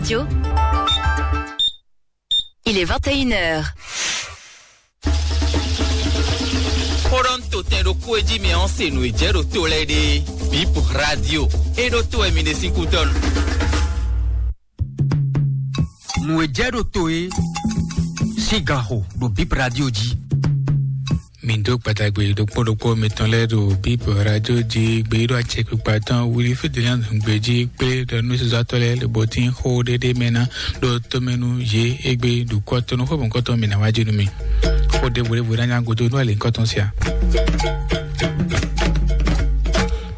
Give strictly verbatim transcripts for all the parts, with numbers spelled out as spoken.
Radio. Il est vingt et une heures. Xó ɖɔ un to tɛn ɖokpó e jí mɛ ɔ́ se nǔ e jɛ ɖo to lɛ́ɛ ɖe. Bip Radio. E ɖo to wɛ mi ɖe sín kútɔ́nu. Nǔ e jɛ ɖo to e sín ganxo ɖo Bip Radio jí. Mi dó kpatagbe ɖokpó ɖokpó mitɔn lɛ́ɛ ɖo Bip Radio jí gbeyíɖɔ acɛkpikpa tɔn wuli fídílíɔn gbe jí kplé ɖɔ nú sɔ́sɔ́tɔ́ lɛ́ɛ lobɔ tín xó ɖéɖé mɛ ná ɖó tómɛnú yě égbé ɖo kɔ́tɔ́nú xó mɔ̌kɔtɔn mǐ ná wá jí nú mi. Xó ɖěvo ɖěvo ná nyá godo nú alǐnkɔ́tɔn sia.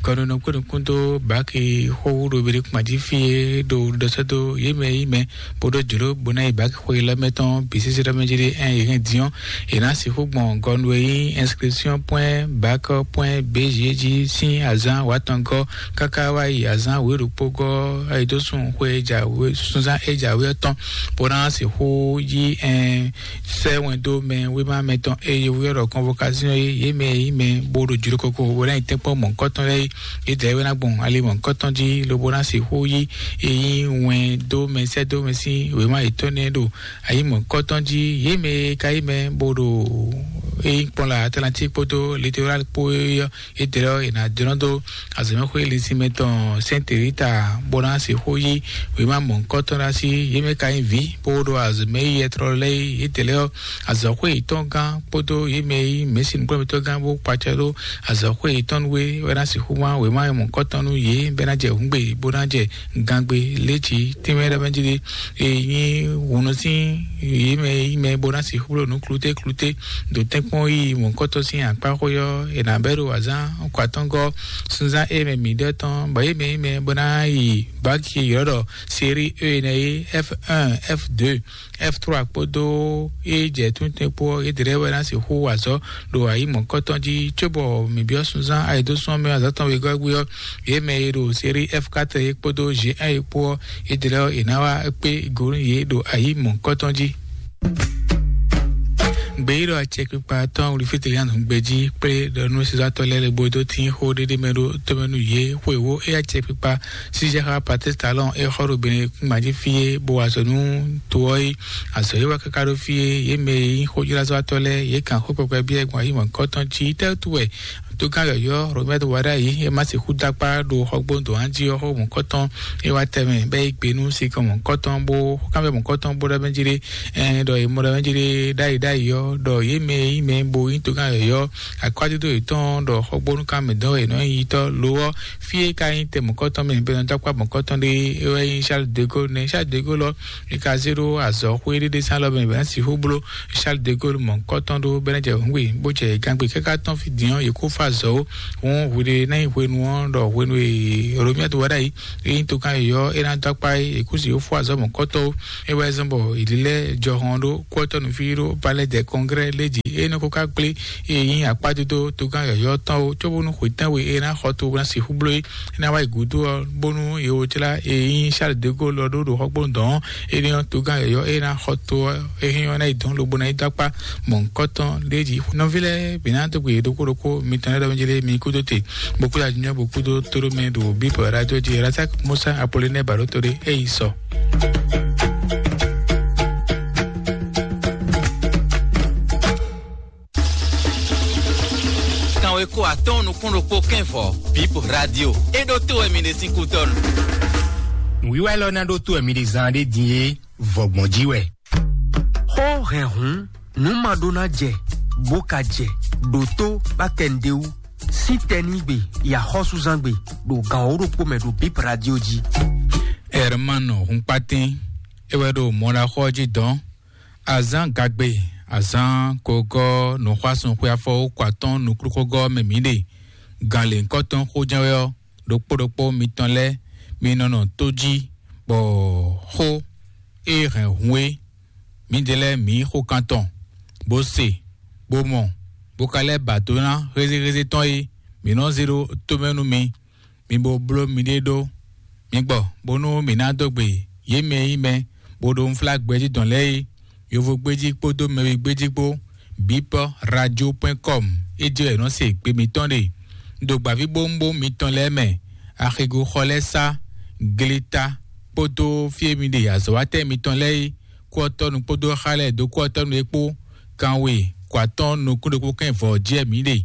Kɔnunɔ kpé nukún dó báki xó wú ɖo Birikumadi fí é ɖo ɖɔsɛ́ dó yě mɛ yí mɛ bó ɖó jlǒ bó ná yi báki xó yi lɛ́ mɛ tɔn bǐ sísí ɖɔ mɛ jí ɖé ɛn yě hɛn din ɔ́, è nǎ sixú gbɔn gɔnu e nyí inscription point bac point B G jí sín azǎn wǎtɔngɔ́ káká wá yi azǎn wěɖokpógɔ́ ayidósun xwe jǎwe sunzán é jǎwe ɔ́ tɔn bó ná sixú yí ɛn sɛ́ wɛn dó mɛ wéma mɛtɔn e yovó ylɔ́ ɖɔ convocation é yě mɛ e nyí mɛ bó ɖo jló koko bó ná yi tɛ́nkpɔ́n mɔ̌hunkɔtɔn lɛ́ɛ é. Yědɛɛ wɛ ná gbɔn ali mɔ̌hunkɔtɔn jí lobo ná sixú yí e nyí wɛn dó mɛ sɛ́ dó mɛ sín wěma yětɔn nɛ́ ɖo ayi mɔ̌hunkɔtɔn jí. Yě mɛ e ka nyí mɛ bó ɖo e nyí kpɔ́n la Atlantique kpódó Littoral kpó é ɔ́, yědɛɛ ɔ́, è nǎ jlɔ́n dó azɔ̌mɛxwé linsinmɛ tɔn Sɛ́nte Rita bó ná sixú yí wěma mɔ̌hunkɔtɔn ɖo así. Yě mɛ ka nyí vǐ bó ɖo azɔ̌mɛ yíyɛtrɔ́ lɛ́ɛ é. Yědɛɛ ɔ́, azɔ̌xwé yětɔn gán kpódó yě mɛ e nyí mɛ̌si nǔkplɔ́nmɛtɔ́ gán bó kpacɛ ɖó azɔ̌xwé yětɔn nú é wɛ ná sixú wán wěma mɔ̌hunkɔtɔn nú yě bɔ é ná jɛ hǔngbe bó ná jɛ gangbe létí tínmɛ ɖɔ mɛ jí ɖé. E nyí hǔnú sín yě mɛ e nyí mɛ bó ná sixú bló nǔ klúté klúté ɖo tɛ́nkpɔ́n yí mɔ̌hunkɔtɔn sín akpá xó ɔ́, è nǎ bɛ́ ɖo azǎn kɔ atɔ́ngɔ́ sunzán e mɛ mǐ ɖɔ tɔn, bɔ yě mɛ e nyí mɛ bó ná yi báki e ylɔ́ ɖɔ série E nɛ́ é, F un, F deux, F trois kpódó e jɛ tún tɛ́nkpɔ́ ɔ́, yědɛɛ wɛ ná sixú wa azɔ̌ ɖo ayi mɔ̌hunkɔtɔn jí, cóbɔ mǐ byɔ́ sunzán ayǐdósúnmɛ azɔ̌ tɔn wegɔ́ gbé ɔ́, yě mɛ e ɖo série F quatre é kpódó G un é kpó ɔ́, yědɛɛ è nǎ wá kpé go nú yě ɖo ayi mɔ̌hunkɔtɔn jí. Gbeyíɖɔ acɛkpikpa tɔn wlifítelianu gbejí kplé ɖɔ nú sisatɔ́ lɛ́ɛ lɛ́ɛ bó dó tín xó ɖéɖé mɛ ɖó tómɛ nú yě xwewó é acɛkpikpa sísɛ́xá Patistalɔn é xɔ ɖo Benekún mají fí é bó wa azɔ̌ nú to ɔ́ é. Azɔ̌ é wá káká ɖó fí é, yě mɛ e nyí xójlázɔ́watɔ́ lɛ́ɛ yě kan xó kpɛkpɛ byɔ́ gbɔn ayǐ mɔ̌hunkɔtɔn jí tɛ́ wú wɛ tógán yɔ̌yɔ́ Romɛ́du Waɖayi é ma sixú dó akpá ɖo xɔgbónu dǒ jí ɔ́ xó mɔ̌hunkɔtɔn é wá tɛnmɛ bɔ é yí gbe nú sinkɔn mɔ̌hunkɔtɔn bó xó kanbyɔ́ mɔ̌hunkɔtɔn bó ɖɔ mɛ jí ɖé. Ɛn ɖɔ è mɔ ɖɔ mɛ jí ɖé ɖ'ayǐ ɖ'ayǐ ɔ́, ɖɔ yě mɛ e nyí mɛ bo nyí tógán yɔ̌yɔ́ akwádodo yětɔn ɖɔ xɔgbónúkanmɛ dɔn wɛ è nɔ nyí yitɔ́ lo ɔ́, fí e ka nyí tɛ mɔ̌kɔtɔn mɛ bɛnɔdɔkpá mɔ̌kɔtɔn ɖé é wɛ nyí Charles de Gaulle nɛ́. Charles de Gaulle ɔ́, è ka zé ɖó azɔ̌xwé ɖéɖé sín alɔ mɛ bɔ é ná sixú bló Charles de Gaulle mɔ̌kɔtɔn ɖó bɔ é ná jɛ hǔngbe bó jɛ gangbe káká tɔn fí din ɔ́, yě kó fá azɔ̌ ó. Hǔn hwiɖe ná nyí hwenu ɔ́ ɖɔ hwenu e Romiatu wá ɖ'ayǐ é nyí tokan yɔ̌yɔ́ é ná dó akpá é, è kú si yó fó azɔ̌ mɔ̌kɔtɔn ó. É wɛ zɔ́n bɔ è lilɛ́ jɔhɔn ɖó kúɔtɔ́ nǔfí ɖó Palais des Congrès lé jǐ é nɔ ko ká kplé é nyí akpádodo togán yɔ̌yɔ́ tɔn ó, cóbónú hwetɛ́nwe é ná xɔ to ná sixú bló é. É ná wá yi gǔdo ɔ́, bónú è wo jlá e nyí Charles de Gaulle ɔ́ ɖó ɖo xɔgbónu dɔn ɔ́, énɛ́ ɔ́, togán yɔ̌yɔ́ e ná xɔ to ɔ́, é hɛn ɔ́ ná yi dɔn lobo ná yi dó akpá mɔ̌hunkɔtɔn ɖé jí. Nɔví lɛ́ɛ bǐ ná dó gbe ɖokpó ɖokpó mitɔn lɛ́ɛ ɖɔ mɛ jí lé mi kúdó te, bó kúdó ajínyɔ́ bó kúdó tóɖó mɛ ɖo bíbɔ radio jí. Razak Musa Apollinaire Baɖóto ɖé é yi sɔ. Kanwe ko atɔn nukún ɖokpó kɛnvɔ, Bip Radio. E ɖo to wɛ mi ɖe sín kútɔnu. Nǔwiwa élɔ́ ná ɖó tó wɛ mi ɖe zan ɖé din é, vɔgbɔn jí wɛ. Xó hɛn hǔn, nǔ ma ɖó ná jɛ, bó ka jɛ, ɖo tó bá kɛ nǔɖé wú. Sín tɛnígbe yi axɔ́súzángbe ɖo gan wǒ ɖokpó mɛ ɖo Bip Radio jí. Hermano Hunkpatín, é wɛ ɖo mɔɖaxɔ jí dɔn. Azán gagbe, azán kogɔ́ nǔxwásún xwe afɔ kɔ atɔ́n nukúnxógɔ́ mɛ mǐ ɖe. Gan lěhunkɔtɔn xó jɛ́n wɛ ɔ́, ɖokpó ɖokpó mitɔn lɛ́ɛ, mi nɔ nɔ tó jí, bɔ xó e hɛn hun é, mǐdɛɛ lɛ́ɛ mǐ xo kan tɔn, bó se, bó mɔ, bó ka lɛ́ ba dó ná hézéhézé tɔn é, mǐ nɔ zé ɖó tómɛ nú mi. Mi bo bló miɖée ɖó. Mi gbɔ, bónú mǐ ná dó gbe yě mɛ e nyí mɛ, bó ɖo unflágbɛjí dɔn lɛ́ɛ é, yovogbéjí kpódó mɛwigbéjí kpó, bipɔ radio point com, é jɛ wɛ nɔ se gbe mitɔn ɖe. Ɖo gbǎvíbówúnbówún mitɔn lɛ́ɛ mɛ, axigoxɔ lɛ́ɛ sá, gleta, kpódó fí e mi ɖe azɔ̌watɛ́ mitɔn lɛ́ɛ é, kú ɔ́ tɔ́ nu kpódó xá lɛ́ɛ dó kú ɔ́ tɔ́ nu é kpó, kanwe kó atɔ́ɔ́n nukún ɖokpó kɛ́n vɔ̌ jí wɛ mǐ ɖe.